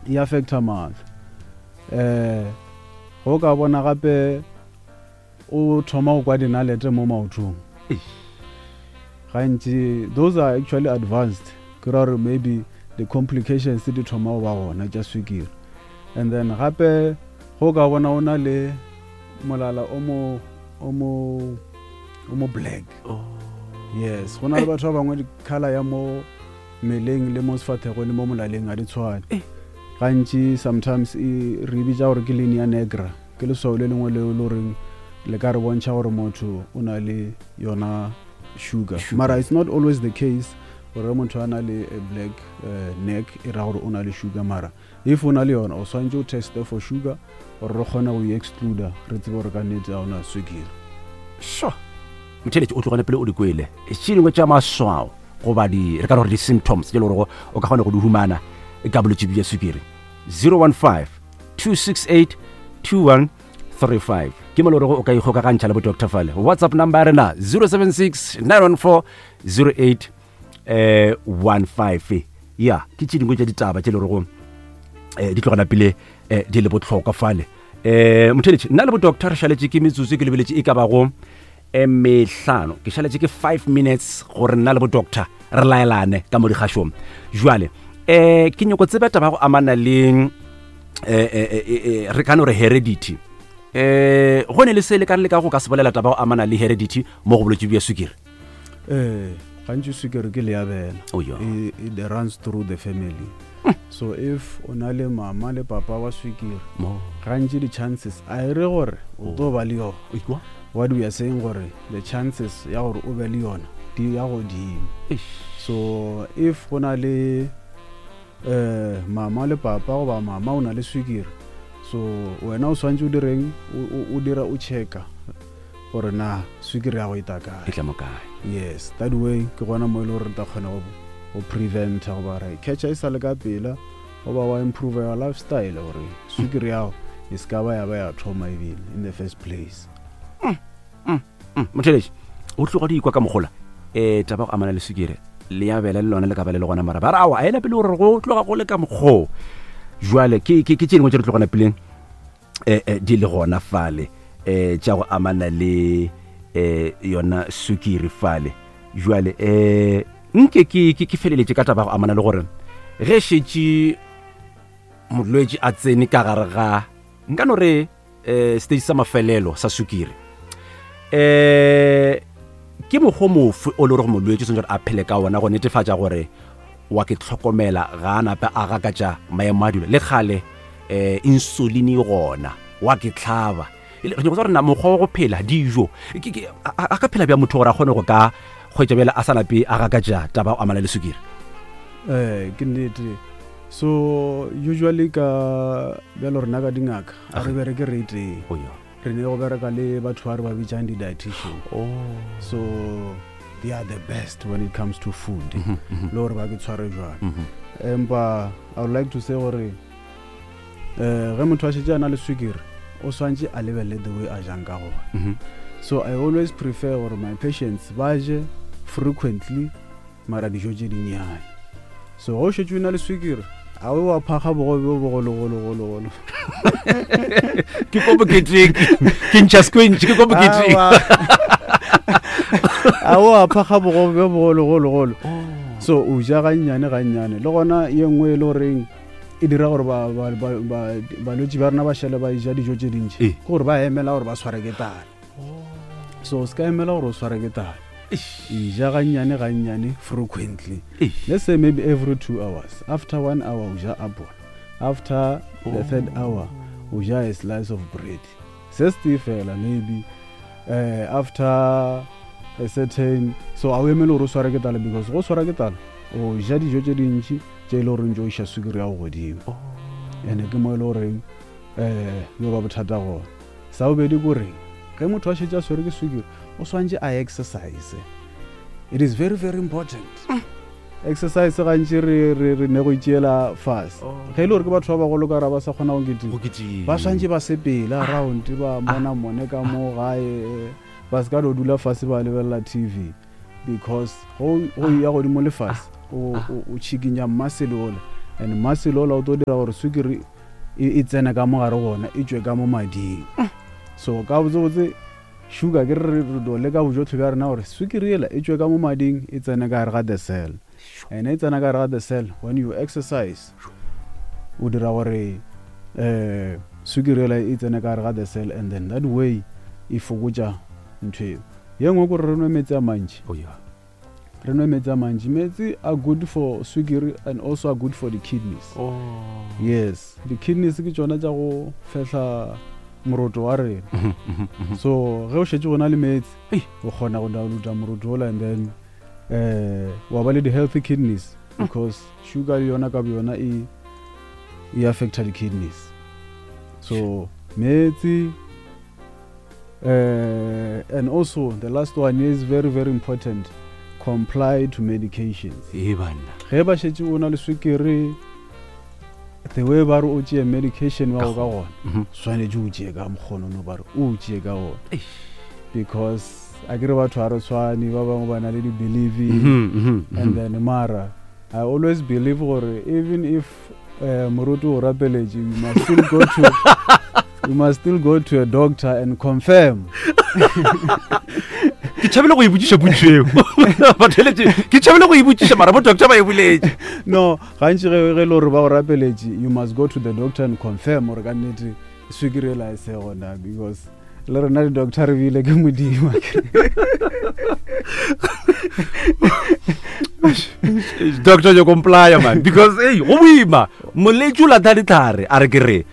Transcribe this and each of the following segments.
E affecta mahlo. Um go ka bona gape o thoma go kwa dinalete mo maotong gantši, those are actually advanced, ke ra gore maybe the complications di thoma go ba gona tša swikiri. And then gape go ka bona o na le molala o mo o mo o mo black. Oh. Yes, go na le batho ba bangwe di-color ya mo mmeleng le mo sefathego le mo molaleng ga di tshwane. Eh. Gantši sometimes e re bitša gore ke linea negra, ke leswao le lengwe leo le goreng le ka re bontšha gore motho o na le yona sugar. Sugar. Mara it's not always the case gore motho a na le a black neck e ra gore o na le sugar, mara if o na le yona o swantse o teste for sugar gore re kgone go e excluda, re tsebe gore ka nnete ga o na swikiri. Sure. Motheeletši o tlogane pele o di kwele tše dingwe tša maswao goba di re ka re gore di-symptoms tše le gorego o ka kgona go di humana ka bolwetši bja swikiri. 015 268 2135 ke mo le gorego o ka ikgokagantšha le bo doctor fale. WhatsApp number ya rena 076 914 08 15. Ya ke tše dingwe tša ditaba tše le gorego di tlogana pele di le bohlokwa fale. Motheeletši, nna le bo doctor re šaletše ke metsotso ke lebeletše e ka bago mehlano, ke šaletše ke 5 minutes gore nna le bo doctor re laelane ka mo dikgašong. Jwale ke nyoko tseba taba go amana le re ka no re heredity. Go ne le se le ka le ka go ka se bolela taba go amana le heredity mo go bolwetši bja swikiri? Gantši swikiri ke leabela. Oh, yeah. It runs through the family. So if o na le mama le papa wa swikiri, gantši di-chances a e re gore o tlo ba le yona. Ikwa? What we are saying gore the chances ya gore o be le yona di ya godimo. So if go na le mama le papa goba mama o na le swikiri, so wena o swantse o direng, o dira o checka gore na swikiri ya go e ta kae, e tla mo kae. Yes, that way ke gona mo e le gore re tla kgona go preventa goba ra e catcha e sa le ka pela, goba wa improve your lifestyle gore swikiri yago e se ka ba ya ba ya thoma ebile in the first place. Motheletši o tloga di ikwa ka mogola taba go amana le swikiri le ya bela le lona le ka ba le le gona, mara ba re awa a ena pele gore go tloga go le ka mokgoo. Jwale ke tše dingwe tše di tlogana peleng di le gona fale tša go amana le yona sukiri fale. Jwale nke ke feleletše ka taba go amana le gore ge šetše molwetši a tsene ka gare ga nka no re stage sa mafelelo sa sukiri, ke mokgwa mofe o le gore molwetši o tshwanetse gore a phele ka ona go netefatša gore wa ke tlhokomela ga a nape a gakatša maemo a dilo le kgale insulin e gona wa ke tlhaba. Re nyako tseba gore na mokgwa wa go phela dijo a ka phela bja motho gore a kgone go ka kgwetša bjale a sa nape a gakatša taba go amana le sukiri? Ke nnete. So usually ka bjalo rena ka dingaka a re bereke re tee. Oh, yeah. Re ne go bereka le batho ba re ba bitsang di-dietitian. Oh. So they are the best when it comes to food. Le gore ba ke tshware jwang. Empa I would like to say gore ge motho a šetše a na le swikiri o swantše a lebelele the way a jang ka gona. So I always prefer gore my patients ba je frequently mara dijo tše dinnyane. So ge o šetše o na le swikiri a o wa phakga bogobe bo bogologologologolo. Ke ko boketeng, ke ntšha squinch, ke ko boketeng. A o a phakga bogobe bo bogologologolo. So o ja gannyane gannyane. Le gona ye nngwe e le goreng e dira gore balwetši ba rena ba šale ba ja dijo tše dintši, ke gore ba emela gore ba tshware ke tala. So o se ka emela gore o tshware ke tala, e ja gannyane gannyane frequently. Let's say maybe every 2 hours. After 1 hour o ja apple, after the third hour o ja a slice of bread, se se fela maybe after a certain. So a o emele gore o sware ke tala, because go swara ke tala o ja dijo tše dintši tše e le goreng tšo iša sukiri ya go godimo, ene ke mo e le goreng yo ba bothata gona. Sa bobedi ko reng ge motho a šetše a swere ke sukiri o swantše a exercise. It is very very important. Exercise gantši re ne go itšeela fase. Ge e le gore ke batho ba bagolo ka ra ba sa kgona go kitima, ba swantše ba sepele around, ba mona mone ka mo gae, ba se ka no dula fase ba lebelela TV, because go ya godimo le fase o tšhikinya muscle ole. And muscle ola o tlo dira gore sukiri e, e tsene ka mo gare gona e tšwe ka mo mading. So ka botsebotse sugar ke re re do leka bojotlhe bja rena gore sukiri ela e tšwe ka mo mading e tsene ka gare ga the cell. And e tsena ka gare ga the cell when you exercise o dira gore um sukiri ela e tsene ka gare ga the cell and then that way e fokotša ntho eo. Ye nngwe kore re nwe metsi a mantši. Oh, yeah. Re nwe metsi a mantši. Metsi are good for sukiri and also are good for the kidneys. Oh. Yes, the kidneys ke tšona tša go fehla moroto wa rena. So ge o šetše go na le metsi, o kgona go downloada moroto ola and then eh wa ba le di-healthy kidneys because sugar le yona ka boyona e e affecta di-kidneys. So metsi and also the last one is very very important, comply to medications. Ee banna. Ge ba šetše o na le swikiri, the way ba re o tšee medication wa go ka gona, swanetše o tšee ka mokgonono ba re o tšee ka gona. Because a ke re batho ga re tshwane, ba bangwe ba na le di-belief and then mara I always believe gore even if moruti o rapeletše, you must still go to you must still go to a doctor and confirm. Ke tšhabile go e botšiša potšo eo. Batheletše, ke tšhabile go e botšiša mara bo doctor ba e boletše. No, gantši ge ge le gore ba go rapeletše, you must go to the doctor and confirm gore ka nnete swikiri ela e se gona, because le rena di-doctor re bile ke Modimo. Doctor, you comply man, because hey, go boima moletši o latha ditlhare a re ke re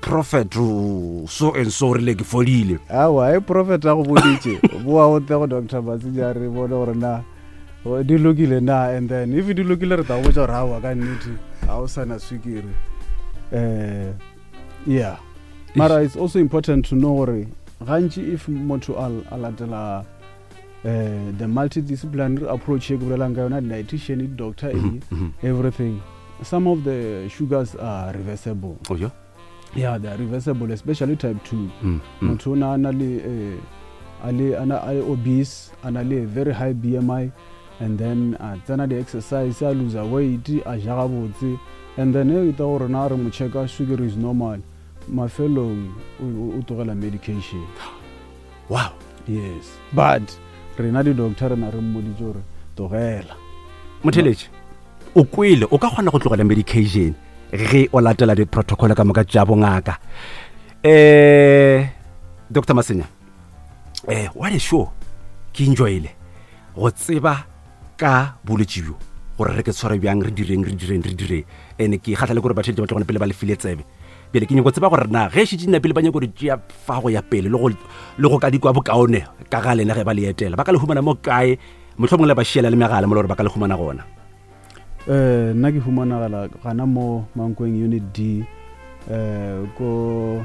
prophet so and so rile ke fodile. Aowa, e prophet a go boditše, boa o tle go Doctor Masenya re bone gore na di lokile na, and then if di lokile re tla go botša gore aowa ka nnete ga o sana swikiri. Yeah, mara it's also important to know gore gantši if motho a latela the multidisciplinary approach ye ke bolelang ka yona, dietitian, doctor, everything, some of the sugars are reversible. Oh, yeah? Yeah, they are reversible, especially type 2. Motho o na a na le a le, a na, a le obese, a na le very high BMI, and then a tsena di-exercise, a lose weight, a ja gabotse, and then e ta gore na re mo checka sukiri is normal, mafelong o tlogela medication. Wow. Yes, but rena di-doctor rena re mmoditse gore tlogela. Motheletši, o kwele, o ka kgona go tlogela medication ge o latela di-protocol ka moka tša bongaka. Doctor Masenya, what a show. Ke enjoyile go tseba ka bolwetši bjo, gore re ke tshware bjang, re direng, re direng, re direng. Ene ke kgatlha le gore batheletši ba tlogone pele ba le file tsebe. Bjale ke nyako tseba gore na ge šetše nna pele ba nyako di tšea fa go ya pele le go ka di kwa bokaone ka ga lena ge ba le etela, ba ka le humana mo kae? Mohlomongwe le ba šiela le megala mo le gore ba ka le humana gona. Nna ke humanagala gana mo Mankweng Unit D, ko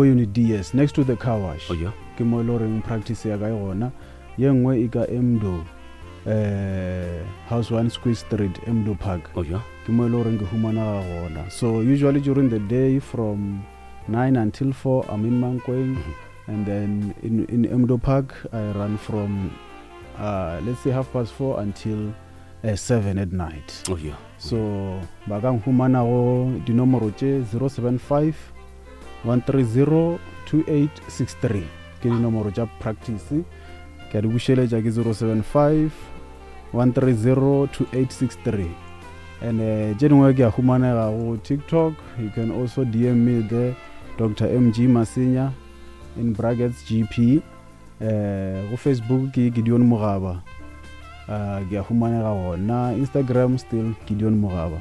Unit D, yes, next to the car wash. Oh, yeah. Ke mo e le goreng practice ya ka e gona. Ye nngwe e ka Emdo, House 1 Squeeze Street, Emdo Park. Oh, yeah. Ke mo e le goreng ke humanaga gona. So usually during the day from 9 until 4 I'm in Mankweng. And then in Emdo Park I run from let's say 4:30 until 7 at night. Oh, yeah. So ba ka nkhumana go dinomoro tše 075 130 2863, ke dinomoro tša practice. Ke a di bušeletša, ke 075 130 2863. And tše dingwe ke a humanega go TikTok. You can also DM me there, Doctor MG Masenya in brackets GP. Go Facebook ke Gideon Mogaba, ke a humanega gona. Instagram still Gideon Mogaba.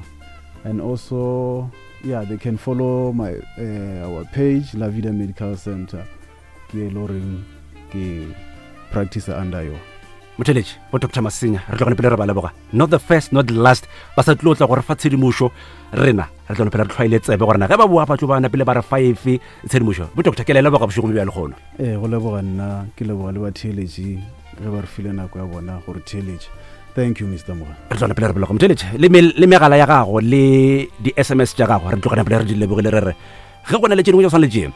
And also, yeah, they can follow my our page, La Vida Medical Center. Ke e le goreng ke practice under yo. Motheletši, bo Doctor Masenya, re tlogone pele re ba leboga. Not the first, not the last. Ba sa tlo tla go re fa tshedimošo, rena re tlogone pele re tlhwaile tsebe gore na ge ba boa ba tlo ba na pele ba re fa efe tshedimošo. Bo Doctor, ke le leboga bošegong bja lehono. Ee, go leboga nna, ke leboga le batheeletši ge ba re file nako ya bona gore theeletše. Thank you, Mister Moga. Re tlogone pele re leboga motheeletši, le megala ya gago le di-S M S tša gago, re tlogone pele re di lebogile, re re ge go na le tše dingwe tša go swana le tše,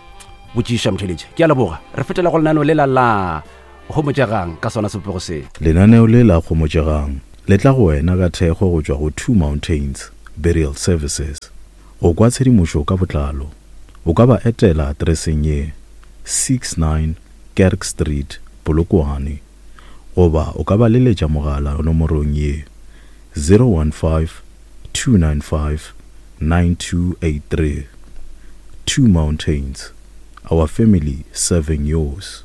botšiša motheeletši. Ke a leboga. Re fetela go lenaneo lela la Gomotšegang ka sona sebopego se. Lenaneo le la Gomotšegang le tla go wena ka thekgo go tšwa go Two Mountains. Burial Services. Go kwa tshedimošo ka botlalo, o ka ba etela atereseng ye, 69 Kerk Street, Polokwane, goba o ka ba leletša mogala nomorong ye, 015 295 9283. Two Mountains, our family serving yours.